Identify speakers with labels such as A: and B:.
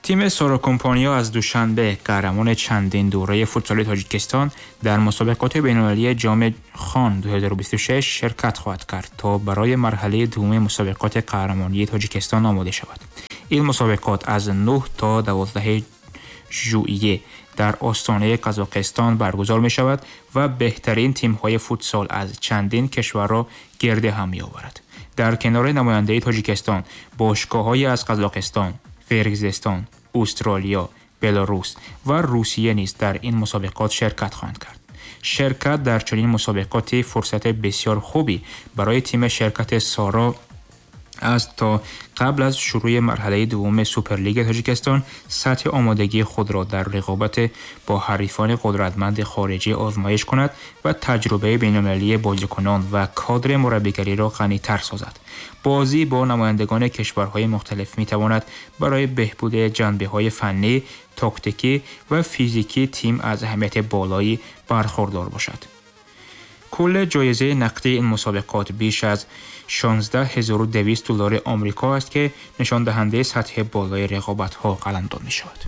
A: Тими Соро Компаниё аз Душанбе, қаҳрамони чандин дурраи футсали Тоҷикистон, дар мусобиқоти байналмилалии Ҷоми Хон 2026 ширкат хоҳад кард, то барои марҳалаи дуввуми мусобиқоти қаҳрамонии Тоҷикистон омода шавад. Ин мусобиқот аз 9 то 12 жуйе дар остонаи Қазоқистон баргузор мешавад ва беҳтарин тимҳои футсал аз чандин кишварро гирди ҳам меоварад. Дар канори намояндаи Тоҷикистон бошгоҳҳое аз Қазоқистон, Қирғизистон, Австралия, Беларус ва Русия низ дар ин мусобиқот ширкат хоҳанд кард. Ширкат дар чунин мусобиқоте фурсати бисёр хубе барои тими ширкати Соро аст, то қабл аз шурӯи марҳалаи дуввуми Суперлигаи Тоҷикистон сатҳи омодагии худро дар рақобат бо ҳарифони қудратманди хориҷӣ озмоиш кунад ва таҷрибаи байналмилалии бозикунон ва кадри мураббигариро ғанитар созад. Бозӣ бо намояндагони кишварҳои мухталиф метавонад барои беҳбуди ҷанбаҳои фаннӣ, тактикӣ ва физикии тим аз аҳамияти болоӣ бархурдор бошад. Кулли ҷоизаи нақдии ин мусобиқот беш аз 16,200 доллари Амрико аст, ки нишондиҳандаи сатҳи болои рақобатҳо қаламдод мешавад.